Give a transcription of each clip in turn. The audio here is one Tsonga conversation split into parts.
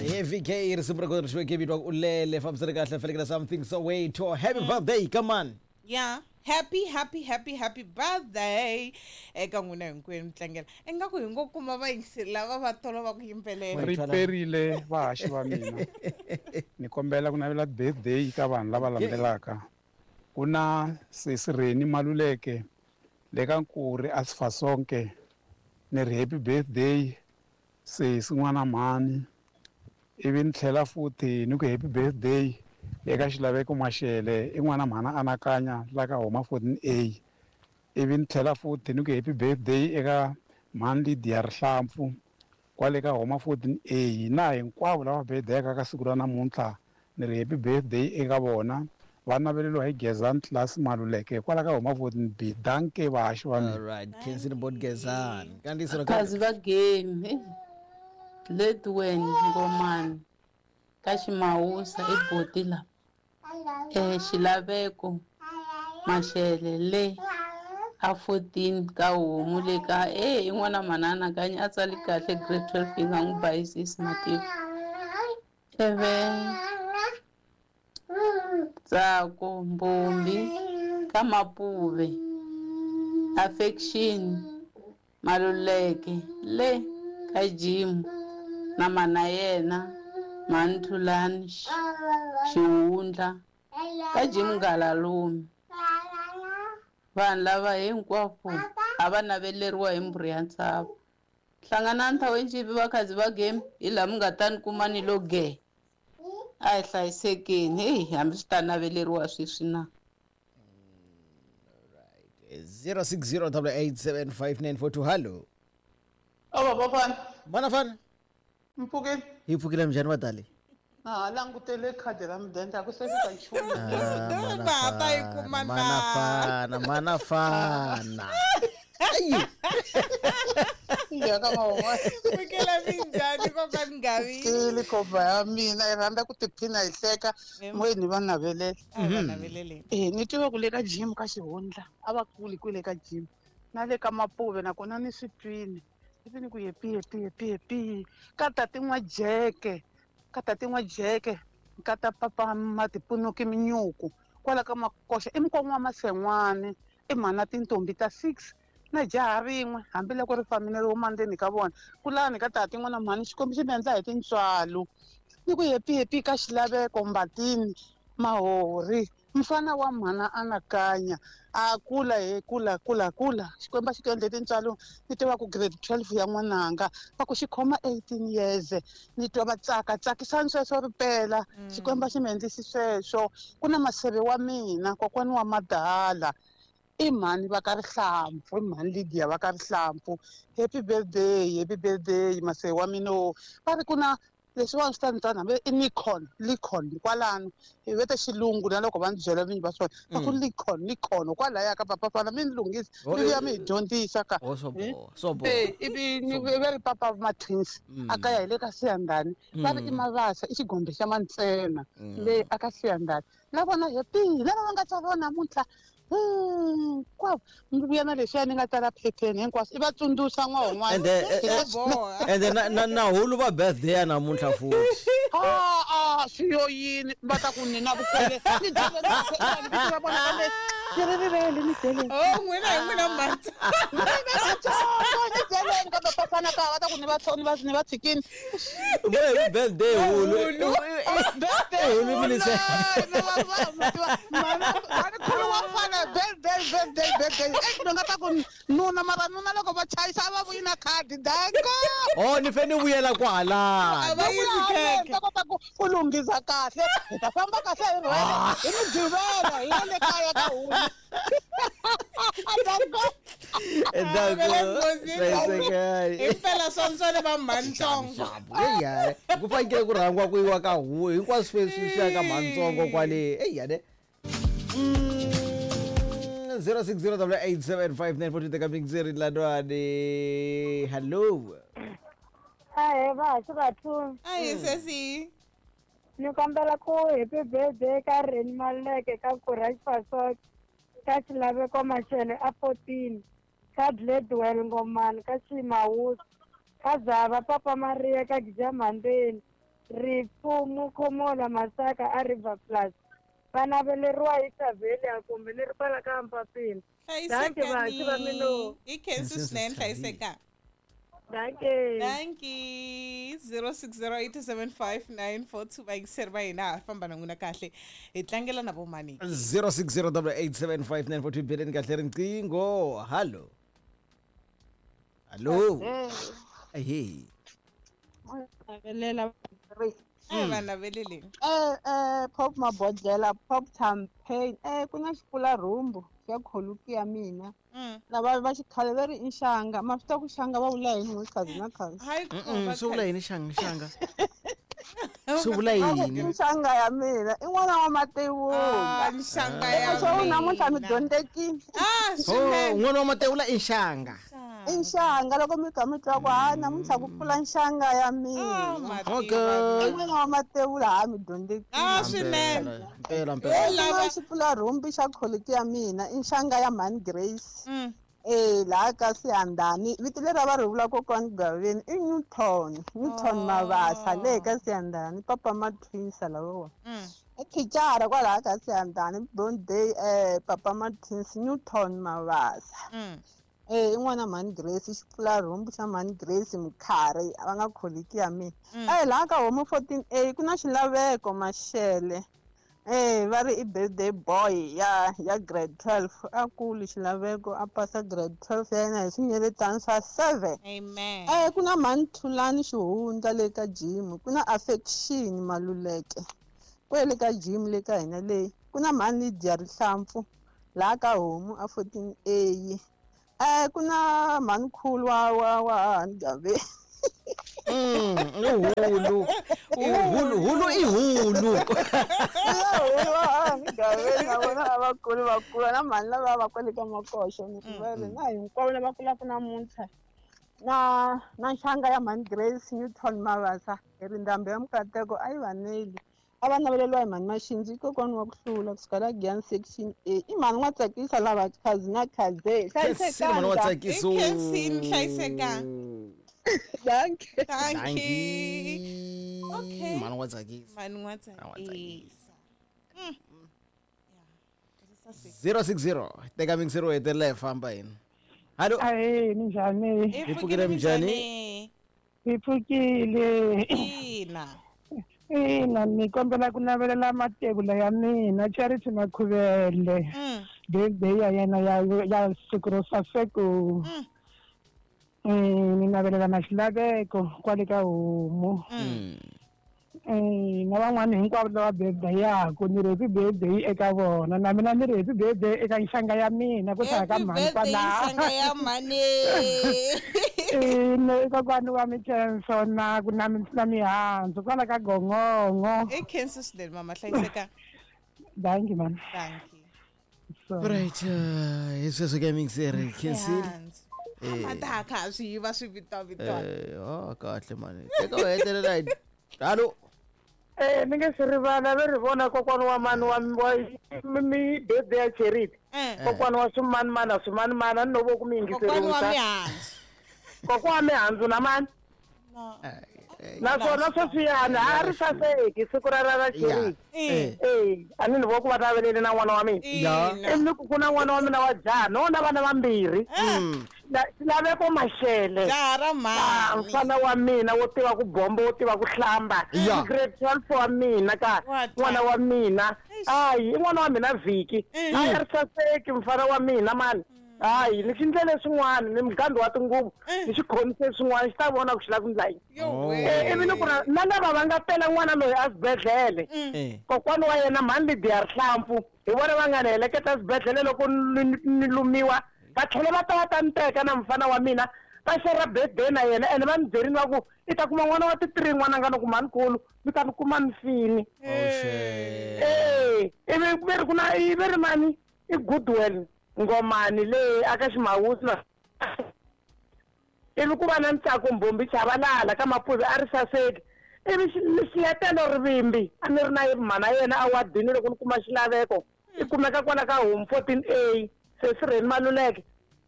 Heavy K risimu ra kona ri xiweke vito u lele fambisana kahle felekela something Soweto. Happy birthday, come on. Yeah, happy happy happy happy birthday eka n'wina hinkwenu mi tlangela. Ingaku hi ngo kuma vayingiseri lava va tolo va ku yimbelela. Ri perile vahaxi va mina. Ni kombela ku navela birthday ka vanhu lava landzelaka. Ku na sesi Reni Maluleke le ka Nkuri a Sifasonke. Ni ri happy birthday sesi n'wana mhani. Ivi ni tlhela futhi ni ku happy birthday eka Xilaveko Mashele i n'wana mhana anakanya la ka homa 14A. Ivi ni tlhela futhi ni ku happy birthday eka mhani Lydia Rihlampfu kwale ka homa 14A na hinkwavo lava birthday-aka ka siku ra namuntlha ni ri happy birthday eka vona. Va naveleriwa hi Gezani Class Maluleke kwala ka homa 14B. Danke vahaxi va mina. All right, Kensini Bot Gezani. Kantiso ra Kazi va game Ledwen Ngomani ka Ximawusa i boti la Xilaveko Mashele le a 14 ka homu le ka i n'wana manana kanye a tsali kahle grade 12 yi nga n'wi bayisisi matiko eve Tsako Mbombi ka Mapuve Affection Maluleke le ka Jim na mana yena Manthulani Xihundla ka Jim Ngalalume. Vanhu lava hinkwavo a va naveleriwa hi mbhuri ya ntshava. Hlanganani thawenjipi vakhazi va game hi laha mi nga ta ni kuma ni lo ge. A hi hlayisekeni heyi hambi swi ta naveleriwa sweswi na. 0608875942 hallo. Ava bafana. Mana fana. Mpfukile. Hi pfukile njhani vadali? Ah, langutele khadi ra mudende a ku se fika nchumu. Va ta yi kuma na. Mana fana, mana fana. Ayi. Ya ka mama. Pfukela minjhani kokwani Ngavi? Kile khomba ya mina yi rhandza ku tiphina hi hleka n'weni va navelela. A va naveleleni. Ni tiva ku le ka gym ka xihundla a va kuli kwele ka gym na le ka Mapuve nakona ni swi twini. Ivi ni ku happy happy happy happy ka tati n'wa jeke ka tati n'wa jeke ka ta papa matipunuki minyuku kwala ka makoxa i mukon'wa wa Masen'wani i mhana tintombi ta 6 na jaha rin'we hambiloko ri fambile ri huma ndzeni ka vona kulani ka tati n'wana mhani Xikwembu xi mi endla hi tintswalo. Ni ku happy happy ka Xilaveko Mbatini Mahori mfana wa mhana anakanya a kula he kula kula kula Xikwembu xi ku endle tintswalo. Ni tiva ku grade 12 ya n'wananga va ku xi khoma 18 years ni twa va tsaka tsakisani sweswo ripela Xikwembu xi mi endlisi sweswo. Ku na maseve wa mina kokwani wa madala i mhani va ka Rihlampfu i mhani Lydia va ka Rihlampfu. Happy birthday happy birthday maseve wa mina va ri ku na leswiwani swi ta ni tsana hambi i Nikon Likon kwalano hi vete xilungu na loko va ni byela vinyi va swona va ku Likon Likon kwalaya ka papa fana mi ni lunghisa mi vuya mi hi dyondzisa ka. Ivi ni va ri papa ma twins a kaya hi le ka Siyandhani va ri i Mavasa i xigombe xa Mantsena le a ka Siyandhani na vona happy lava va nga tswariwa namuntlha hinkwavo ni vuya na leswiya ni nga tsala phepheni hinkwaswo i va tsundzuxa n'wana. Ende na hulu va birthday ya namuntlha futhi. A swi yo yini va ta ku ni na vukwele ni byele vito ra vona kambe ni ri rivele ni byeleni. Oh n'wina hi n'wina matsa. Ni byeleni kambe pafana ka va ta ku ni va ni va ni va tshikini. Happy birthday hulu. Birthday hulu minise. Mani wa fana birthday birthday birthday ni nga ta ku nuna mara nuna loko va chayisa a va vuyi na khadi danko. Oh ni fanele vuyela kwala. A va yisi khekhe. Ta kota ku u lunghisa kahle hi ta famba kahle hi rhwele hi Mugqivela hi ya le kaya ka hulu. Danko. Impela swanswane va mhantsongo. Eya ku fanekele ku rhangiwa ku yiwa ka huku hinkwaswo sweswi swi ya ka mhantsongo kwale eya ne. 0608875942 teka mixeri lanwani. Hello. Ahe vahaxi vathu. Ahi sesi. Ni kombela ku happy birthday ka Reni Maluleke ka Courage Fasok ka Xilaveko Mashele a 14 ka Gladwell Ngomani ka Ximawusa ka Zava Papa Maria ka Gijamhandeni Rifumo Khomola Masaka a River Plus. Va naveleriwa hi Xavelia kumbe ni ri kwala ka Mpapini. Dankie vahaxi va mina. Hlayisekani. I khensi swinene hlayiseka. Dankie. Dankie. 06087594 vayingiseri va hina ha famba na n'wina kahle. Hi tlangela na vomani. 0608875942 beleni kahle riqingho. Hallo. Hallo. Hey. Navelela A va naveleleni. Pop mabodlela pop champagne ku na xipfula rhumbu xa kholuki ya mina lava va xikhale va ri i nxanga ma swi tiva ku xanga va vula yini n'we na khazi Hayi Mm, swi vula yini xanga xanga? Swi vula yini? i nxanga ya mina i n'wana wa matevula Ah, nxanga ya swo namuntlha mi mina. dyondzekile Ah, Oh, swinene. n'wana wa matevula i nxanga. i nxanga loko mi kha mi twa ku ha namuntlha ku pfula nxanga ya mina Okay. i n'wana wa matevula ha mi dyondzekile Ah, swinene. Mpela mpela. Lava xipfula rhumbi xa quality ya mina i nxanga ya mhani Grace. Laha ka Siyandhani vito leri a va ri vula kokwani Gaveni i Newton, Newton Mabasa le ka Siyandhani papa Matwinsa lavawa. I thicara kwalaha ka Siyandhani birthday papa Matwins Newton Mabasa. I n'wana mhani Grace xipfula rhumbi xa mhani Grace Mukhari va nga quality ya mina. Laha ka homu 14A ku na xilaveko Mashele. Va ri i birthday boy ya grade 12 a kuli xilaveko a pasa grade 12 ya yena hi swinyeletani swa 7. Amen. Ku na mhani Thulani Xihundla le ka gym ku na Affection Maluleke kwele ka gym le ka hina leyi ku na mhani Lydia Rihlampfu laha ka homu a 14A. Ku na mhani Khulu wa hahani Gaveni. I hulu. I hulu, hulu i hulu. Hulu wa hahani Gaveni na vona lavakulu va kula na mhani lava va kwale ka Makoxo ni rivele na hinkwavo lava kulaka namuntlha na nxanga ya mhani Grace Newton Mabasa hi ri ndhambi ya Mukateko a yi vaneli a va naveleriwa hi mhani Maxindzi kokwani wa ku hlula kusuka la Giyani section A i mhani n'wa tsakisa lava khazi na khaze Khensile mhani wa tsakisa. I khensile hlayisekani. Dankie. Dankie. Okay. Mhani wa tsakisa. Mhani wa tsakisa. 060 teka mixer wo hetelela hi famba hina. Hallo. Ahee, minjhani? Hi pfukile minjhani? Hi pfukile. Ina. Ina, ni kombela ku navelela matevula ya mina Charity Makhuvele. Birthday ya yena ya siku ro saseko. Ni navelela na xilaveko kwale ka homu. Na van'wani hinkwavo lava birthday yaku ni ri happy birthday eka vona na mina ni ri happy birthday eka nxanga ya mina ku tlhela ka mhani kwalaha. Nxanga ya mhani. Ina kokwani wa Mikhenso na ku na mihandzu kwala ka Gongongo. I khensi swinene mama hlayiseka. Dankie mama. Dankie. Right, hi sweswo ke mixer khensile. Mata kha swi yiva swi vitwa. Kahle mani. Teka u hetelela hi. Hallo. Ni nge swi rivala ve ri vona kokwani wa mani wa mi birthday ya Charity. Kokwani wa swimanimana swimanimana ni novo ku mi Kokwani wa yingiseriwisa. mihandzu. Kokwana wa mihandzu na mani. Naswona sweswiyani a ri saseki siku ra Charity. A ni vo ku va naveleli na n'wana wa mina. Ivi ni ku ku na n'wana wa mina wa jaha no na vana vambirhi. Xilaveko Mashele. Jaha ra mhani. Mfana wa mina wo tiva ku bomba wo tiva ku hlamba. Grade 12 wa mina ka n'wana wa mina. Hayi i n'wana wa mina Vhiki. Hayi a ri saseki mfana wa mina mani. Hayi ni xi ndlele swin'wana ni mugandi wa tinguvu ni xi khomise swin'wana xi ta vona ku xi lava ku ndla yini. Ivi ni ku na lava va nga tela n'wana loyi a xibedhlele. Kokwani wa yena mhani Lydia Rihlampfu hi vona va nga ni heleketa xibedhlele loko ni lumiwa va tlhela va ta va ta ni teka na mfana wa mina va xera birthday na yena ene va ni byerini va ku i ta kuma n'wana wa ti-3 n'wana nga ni ku mhani-nkulu mi ta ni kuma ni fini. Ivi ve ri ku na i ve ri mani i Goodwill Ngomani leyi aka Ximawusi na ivi ku va na Ntsako Mbhombi Chavalala ka Mapuve a ri saseki ivi xiletelo rivimbi a ni ri na mhana yena a wadini loko ni kuma xilaveko i kumeka kwala ka home 14A sesirheni Maluleke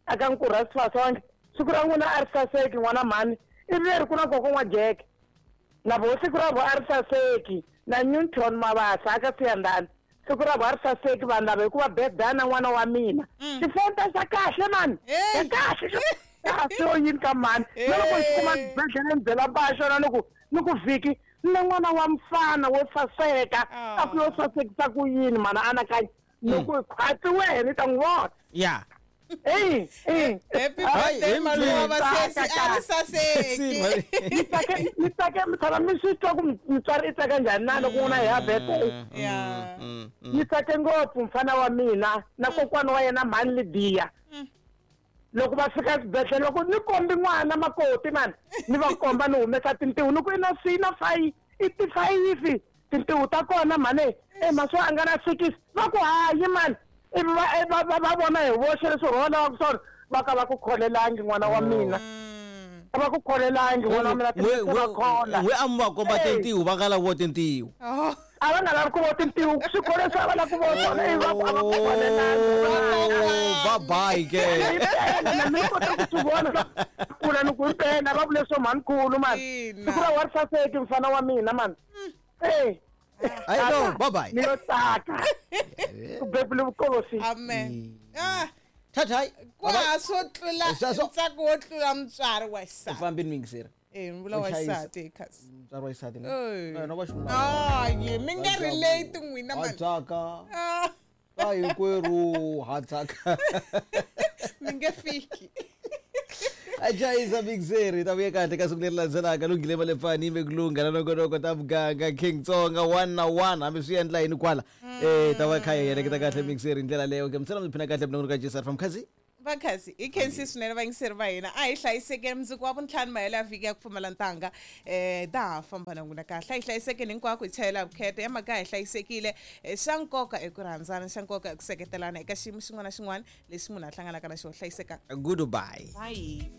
aka Nkurha Sifasonke siku ra n'wina a ri saseki n'wana mhani ivi leri ku na koko n'wa Jeke. Na vo siku ra vo a ri saseki na Newton Mabasa aka Siyandhani siku ra vo a ri saseki vanhu lava hikuva birthday na n'wana wa mina xifenta xa kahle mani ya kahle kahle yini ka mani na loko xi kuma xibedhlele ni byela ba xona ni ku vhiki na n'wana wa mfana wo saseka a ku yo sasekisa ku yini mana anakanya loko khwatsi wehe ni ta n'wi vona ya Hey, hey. Happy birthday malume wa sesi a ri saseki. Ni tsake mi tshama mi swi twa ku mutswari i tsaka njhani na loko n'wana ya birthday. Ni tsake ngopfu mfana wa mina na kokwana wa yena mhani Lidiya. Loko va fika xibedhlele loko ni kombi n'wana makoti mani ni va komba ni humesa tintiho ni ku i na C na 5 i ti 5 tintiho ta kona mhani maswo a nga na 6 va ku hayi mani ivi va vona hi voxe leswi rhola wa swona va ka va ku kholelangi n'wana wa mina a va ku kholelangi n'wana wa mina va khola we a mi va komba tintiho va nga lavi vo tintiho a va nga lavi ku vo tintiho swikolo leswi a va lavi ku vo swona ivi va ku a va ku kholelangi bye bye ke na mi kota ku swi vona kula ni ku impela va vule swo mhanikulu mani siku ra wa ri saseki mfana wa mina mani I know, bye bye. Ni yo tsaka. Ku bebule vukosi. Amen. Thathai. Kwa swo tlula ntsako wo tlula mutswari wa xisati. U fambini mingiseri. Vula wa xisati khasi. Mutswari wa xisati. No va xinuna. Hayi, mi nga relate n'wina mani. Tsaka. Ka hinkwerhu ha tsaka. Mi nge fiki. Ajayiza Mixeri ta vuye kahle ka siku leri landzelaka lunghile va le pfani yime ku lungha na nongonoko ta muganga King Tsonga 1 na 1 hambi swi endla yini kwala ta va kha yi heleketa kahle Mixeri hi ndlela leyo ke mi sala mi phina kahle minongonoko ka JSR from Khazi Vakhazi i khensi swinene vayingiseri va hina a hi hlayisekeni mundzuku wa vuntlhanu mahelo ya vhiki ya ku pfumala ntanga ta ha famba na n'wina kahle a hi hlayisekeni hinkwako hi chayela vukheta ya makaya hi hlayisekile xa nkoka i ku rhandzana xa nkoka i ku seketelana eka xiyimo xin'wana na xin'wana lexi munhu a hlanganaka na xona hlayiseka goodbye bye. Bye.